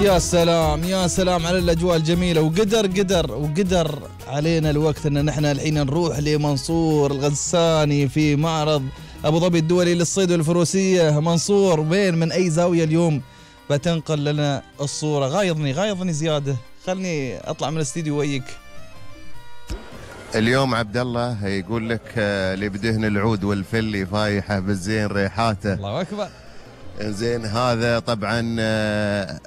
يا سلام يا سلام على الأجواء الجميلة، وقدر علينا الوقت أن نحن الحين نروح لمنصور الغساني في معرض أبو ظبي الدولي للصيد والفروسية. منصور، وين من أي زاوية اليوم بتنقل لنا الصورة؟ غايضني زيادة، خلني أطلع من الاستديو وياك. اليوم عبد الله يقول لك اللي بدهن العود والفلي فايحة بالزين ريحاته. الله أكبر. زين، هذا طبعا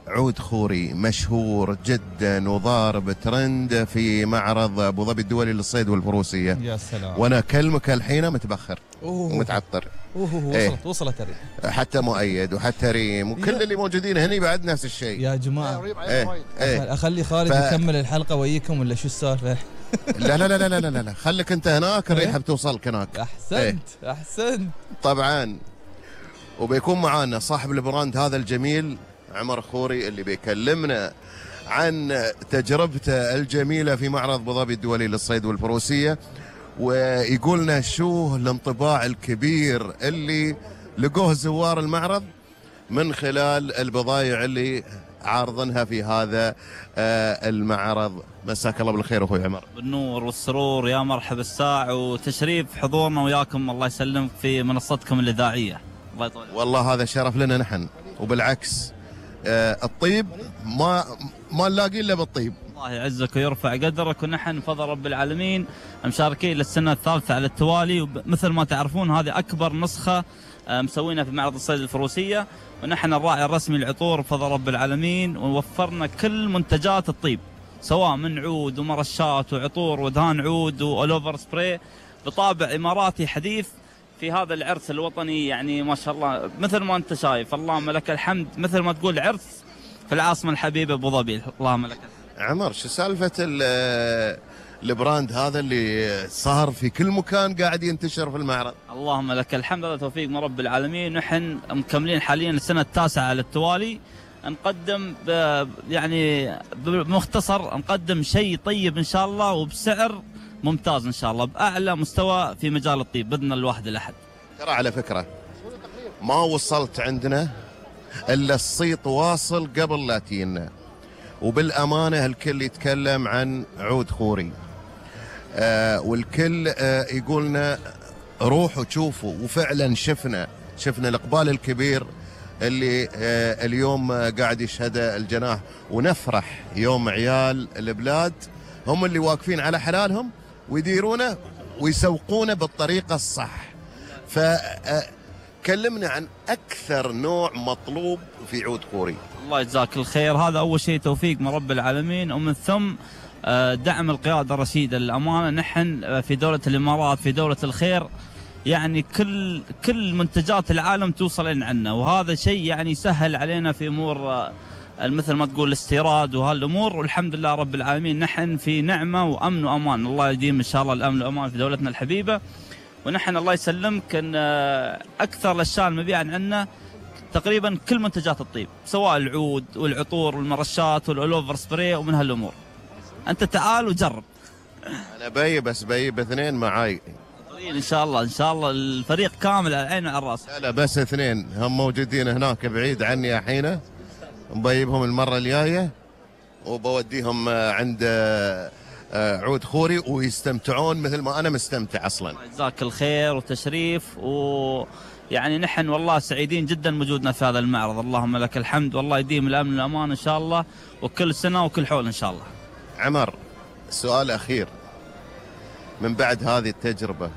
عود خوري مشهور جدا وضارب ترند في معرض ابو ظبي الدولي للصيد والفروسيه. يا سلام. وانا اكلمك الحين متبخر ومتعطر. وصلت الريح حتى مؤيد وحتى ريم وكل اللي موجودين هني بعد نفس الشيء يا جماعه. اخلي خالد يكمل الحلقه وياكم ولا شو السالفه؟ لا خليك انت هناك، الريحه بتوصلك هناك. احسنت. طبعا وبيكون معانا صاحب البراند هذا الجميل عمر خوري اللي بيكلمنا عن تجربته الجميلة في معرض أبو ظبي الدولي للصيد والفروسية، ويقولنا شو الانطباع الكبير اللي لقوه زوار المعرض من خلال البضائع اللي عارضنها في هذا المعرض. مساك الله بالخير اخوي عمر. بالنور والسرور، يا مرحبا الساع وتشريف حضورنا وياكم، الله يسلمك في منصتكم الإذاعية. والله هذا شرف لنا نحن، وبالعكس الطيب ما نلاقي الا بالطيب. الله يعزك ويرفع قدرك، ونحن بفضل رب العالمين مشاركين للسنة الثالثة على التوالي، ومثل ما تعرفون هذه أكبر نسخة مسوينا في معرض الصيد الفروسية، ونحن الراعي الرسمي للعطور بفضل رب العالمين، ووفرنا كل منتجات الطيب سواء من عود ومرشات وعطور ودهان عود وأولوفر سبراي بطابع إماراتي حديث في هذا العرس الوطني. يعني ما شاء الله مثل ما انت شايف، اللهم لك الحمد، مثل ما تقول عرس في العاصمة الحبيبة ابو ظبي. اللهم لك الحمد. عمر، شو سالفة البراند هذا اللي صار في كل مكان قاعد ينتشر في المعرض؟ اللهم لك الحمد، هذا توفيق من رب العالمين. نحن مكملين حاليا السنة التاسعة على التوالي، نقدم يعني بمختصر نقدم شيء طيب ان شاء الله وبسعر ممتاز ان شاء الله، باعلى مستوى في مجال الطيب باذن الواحد الاحد. ترى على فكره ما وصلت عندنا الا الصيت واصل قبل لا تجينا، وبالامانه الكل يتكلم عن عود خوري، والكل يقولنا روحوا شوفوا، وفعلا شفنا الاقبال الكبير اللي اليوم قاعد يشهده الجناح، ونفرح يوم عيال البلاد هم اللي واقفين على حلالهم ويديرونه ويسوقونه بالطريقة الصح. فكلمنا عن أكثر نوع مطلوب في عود خوري. الله يجزاك الخير. هذا أول شيء توفيق من رب العالمين، ومن ثم دعم القيادة الرشيدة للأمانة. نحن في دولة الإمارات في دولة الخير، يعني كل منتجات العالم توصل لنا عنا، وهذا شيء يعني يسهل علينا في أمور مثل ما تقول الاستيراد وهالامور، والحمد لله رب العالمين نحن في نعمه وامن وامان. الله يديم ان شاء الله الامن والامان في دولتنا الحبيبه، ونحن الله يسلمك ان اكثر الاشياء المبيعه عندنا تقريبا كل منتجات الطيب، سواء العود والعطور والمرشات والاولوفر سبراي ومن هالامور. انت تعال وجرب. انا بيب اثنين معاي ان شاء الله الفريق كامل على العين وعلى الراس. لا بس اثنين هم موجودين هناك بعيد عني الحين، مبيبهم المرة الجاية وبوديهم عند عود خوري ويستمتعون مثل ما أنا مستمتع أصلا. جزاك الخير وتشريف، ويعني نحن والله سعيدين جدا وجودنا في هذا المعرض. اللهم لك الحمد، والله يديم الأمن والأمان إن شاء الله، وكل سنة وكل حول إن شاء الله. عمر، سؤال أخير، من بعد هذه التجربة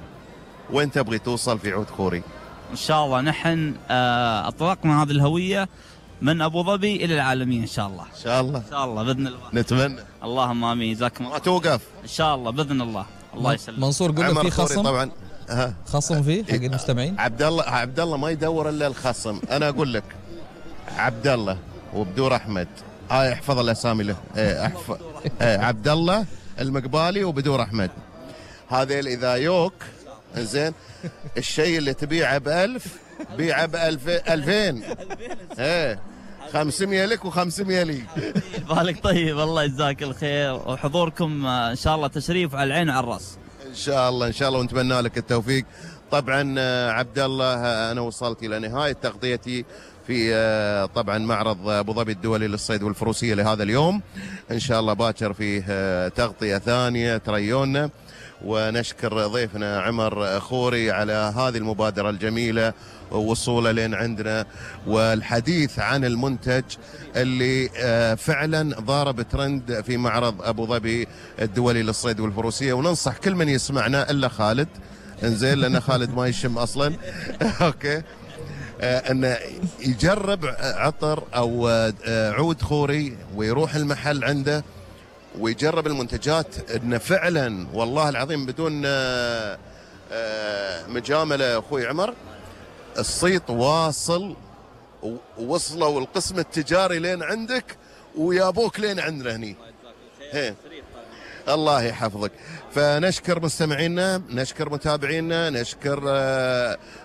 وين تبغي توصل في عود خوري؟ إن شاء الله نحن أطلقنا هذه الهوية من ابو ظبي الى العالمين ان شاء الله. ان شاء الله باذن الله. نتمنى. اللهم امين. جزاكم الله. ما توقف ان شاء الله باذن الله. الله يسلمك. منصور قول له في خصم طبعا. خصم فيه حق المستمعين. عبد الله ما يدور الا الخصم. انا اقول لك عبد الله وبدور احمد، احفظ الاسامي له. احفظ عبد الله المقبالي وبدور احمد، هذيل اذا يوك زين الشيء اللي تبيعه ب1000 بيعه ب2000. 500 لك و500 لي. بالك طيب. الله يجزاك الخير، وحضوركم ان شاء الله تشريف على العين وعلى الراس. ان شاء الله ونتمنى لك التوفيق. طبعا عبد الله، انا وصلت الى نهايه تغطيتي في طبعا معرض أبو ظبي الدولي للصيد والفروسية لهذا اليوم. إن شاء الله باكر فيه تغطية ثانية تريونا. ونشكر ضيفنا عمر خوري على هذه المبادرة الجميلة ووصوله لين عندنا، والحديث عن المنتج اللي فعلا ضارب ترند في معرض أبو ظبي الدولي للصيد والفروسية. وننصح كل من يسمعنا إلا خالد، انزين، لأن خالد ما يشم أصلا أوكي، أنه يجرب عطر أو عود خوري ويروح المحل عنده ويجرب المنتجات. انه فعلا والله العظيم بدون مجامله اخوي عمر، الصيت واصل، ووصلوا القسم التجاري لين عندك ويابوك لين عندنا هني. الله يحفظك. فنشكر مستمعينا، نشكر متابعينا، نشكر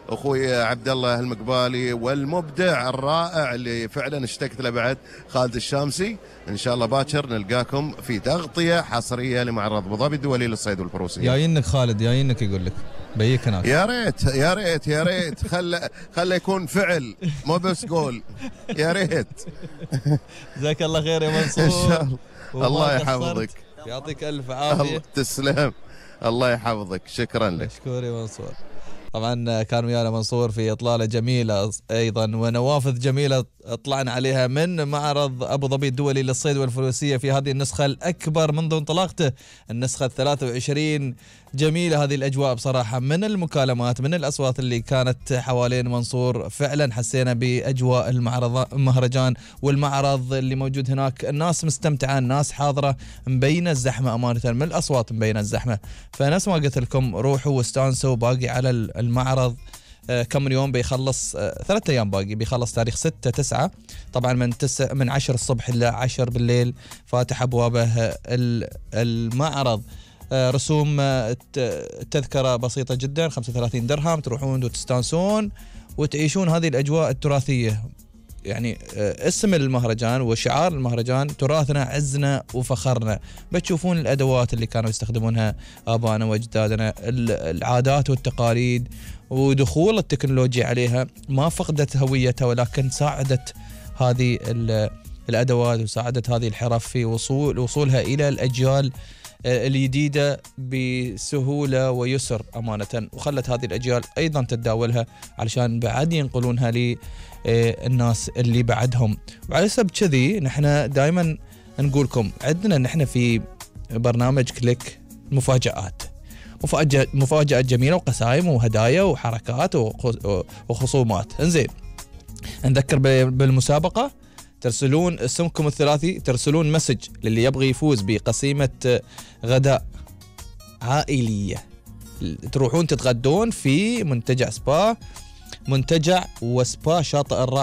اخوي عبد الله المقبالي والمبدع الرائع اللي فعلا اشتقت له بعد، خالد الشامسي. ان شاء الله باكر نلقاكم في تغطيه حصريه لمعرض ابو ظبي الدولي للصيد والفروسيه. جايينك خالد، جايينك يقول لك بيك هناك. يا ريت يا ريت يا ريت، خله يكون فعل مو بس قول، يا ريت. جزاك الله خير يا منصور. ان شاء الله. الله يحفظك، يعطيك الف عافيه. تسلم، الله يحفظك، شكرا لك. مشكور يا منصور. طبعا كان ويانا منصور في اطلاله جميله ايضا ونوافذ جميله طلعنا عليها من معرض ابو ظبي الدولي للصيد والفروسيه في هذه النسخه الاكبر منذ انطلاقته، النسخه 23. جميله هذه الاجواء بصراحه، من المكالمات من الاصوات اللي كانت حوالين منصور، فعلا حسينا باجواء المهرجان والمعرض اللي موجود هناك. الناس مستمتعه، الناس حاضره، مبينه الزحمه امانه، من الاصوات مبينه الزحمه. فنفس ما قلت لكم روحوا واستانسوا. باقي على المعرض كم من يوم بيخلص، 3 أيام باقي، بيخلص تاريخ 6/9. طبعا من 10 الصبح إلى 10 بالليل فاتح أبوابه المعرض. رسوم تذكرة بسيطة جدا، 35 درهم، تروحون وتستانسون وتعيشون هذه الأجواء التراثية. يعني اسم المهرجان وشعار المهرجان تراثنا عزنا وفخرنا. بتشوفون الأدوات اللي كانوا يستخدمونها آبائنا وأجدادنا، العادات والتقاليد، ودخول التكنولوجيا عليها ما فقدت هويتها، ولكن ساعدت هذه الأدوات وساعدت هذه الحرف في وصولها إلى الأجيال الجديدة بسهولة ويسر أمانة، وخلت هذه الأجيال أيضا تتداولها علشان بعد ينقلونها للناس اللي بعدهم. وعلى سبب كذي نحن دائما نقولكم عندنا نحن في برنامج كليك مفاجآت جميلة وقسائم وهدايا وحركات وخصومات. انزين، نذكر بالمسابقة، ترسلون اسمكم الثلاثي، ترسلون مسج للي يبغي يفوز بقسيمة غداء عائلية. تروحون تتغدون في منتجع وسبا شاطئ الراحة